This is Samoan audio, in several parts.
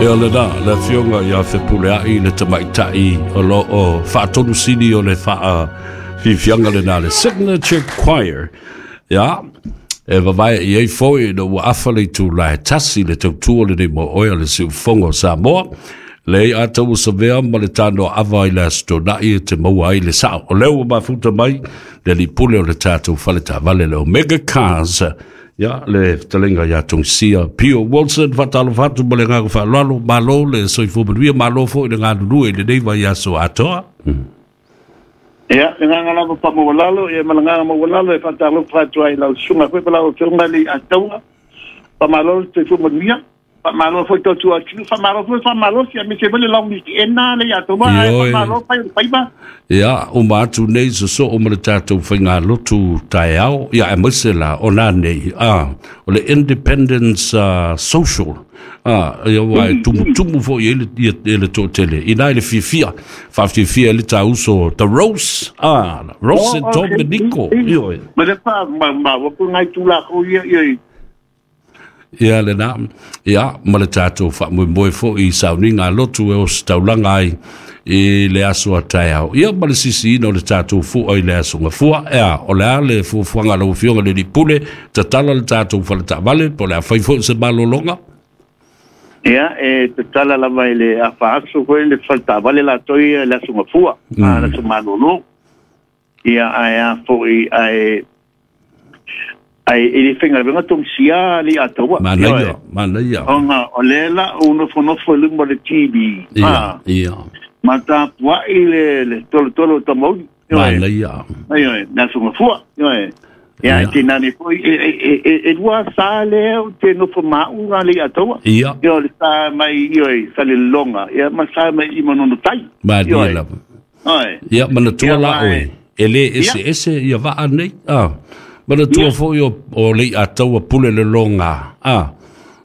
Ia lena, le afioga ia Fepuleai le tamaitai o lo o faatonu sili o le faafiafiaga lena, le Signature Choir. Ia, e vavae i ai foi ina ua afa le itula e 1 le tautua lenei mo oe o le siufogo o Samoa. Leai a tau savea ma le tanoa ava i le aso Toonai e te maua ai le sao. O lea ua mafuta mai le alii pule o le tatou faletaavale le Omega Cars. Ia, le fetalaiga ia Tongisia Pio Wilson, faatalofa atu ma le agaga faaaloalo, malo le soifua manuia, malo foi le galulue i lenei vaiaso atoa. Ia, le agaga lava faamaualalo, ia ma le agaga maualalo e faatalofa atu ai i lau susuga foi ma lau Afioga i le Ataua. Faamalo le soifua manuia. Faamalo foi tautua atunuu, faamalo foi faamalosi, aemaise foi le long weekend le ia taua, ae faamalo fai o le faiva. Ia, uma atu nei sosoo ma le tatou faigalotu taeao, ia aemaise la o nanei, o le Independence Social, ia ua e tumutumu foi i ai le, le toatele, ina i le fiafia, faafiafia ai le tauso The Rose, Rose Oh, okay. Dominico, ioe. Ma le fa ma ma wa ku ngai tu la ko ia ia. Ia lena, ia ma le tatou faamoemoe foi i sauniga a lotu e ositaulaga ai i le aso a taeao. Ia ma le sisiina o le tatou fua i le aso gafua. Ea, o le a le fuafuaga a lau Afioga i le Alii Pule, tatala le tatou faletaavale, po o le a fai foi se malologa? Ia, e tatala lava i le afa aso foi le faletaavale latou ia i le aso gafua, le aso malolo. Ia, ae a foi, ae ai e le faigaluega tongisia le ataua. Manaia, manaia. Ona o lea la ou nofonofo i luma o le TV. Ia, ia. Ma tapuai le tolotolo o Tamauli. Manaia. Ioe, le aso gafua. Ioe. Ia, e te nane foi, e lua sa lea o te nofo maʻu le ataua. Ia. Ia, o le sa mai, ioe, Salelologa, ia, ma sa mai i Manono Tai. Malie lava. Ioe. Ia, manatua Ia, la ma oe, e le ese ese ia vaa nei. Manatua foi o Leiataua pule le loga.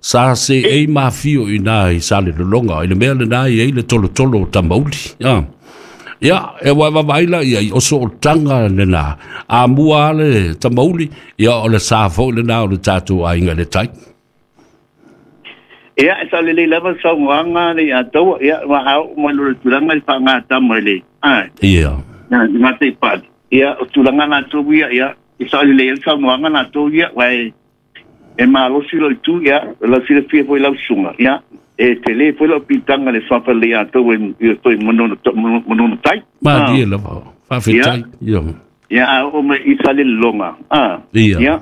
Sa se ei mafio i nā i Salelologa, i le mea lena i ai le tolotolo o Tamauli. Ia, e wae vavaai la ia i oso o tanga lena. A mua le Tamauli, ia o le sa foi lena o le tatou aiga i le tai. Ia, e sa lelei lava le saunoaga le Ataua. Ia, ua ao mai lo le tulaga i faagatama i le, ai, ngā te pali. Ia, o tulaga latou ia, ia, e sa lelei le saunoaga latou ia, wa e malosi lo i tu, ia, lau silafia foi lau susuga, ia, e tele foi lau pitanga le suafa le Ataua i toi Manono Tai. Malie lava. Faafetai. Ia. Ia, a o mai i Salelologa. Ia. Ia.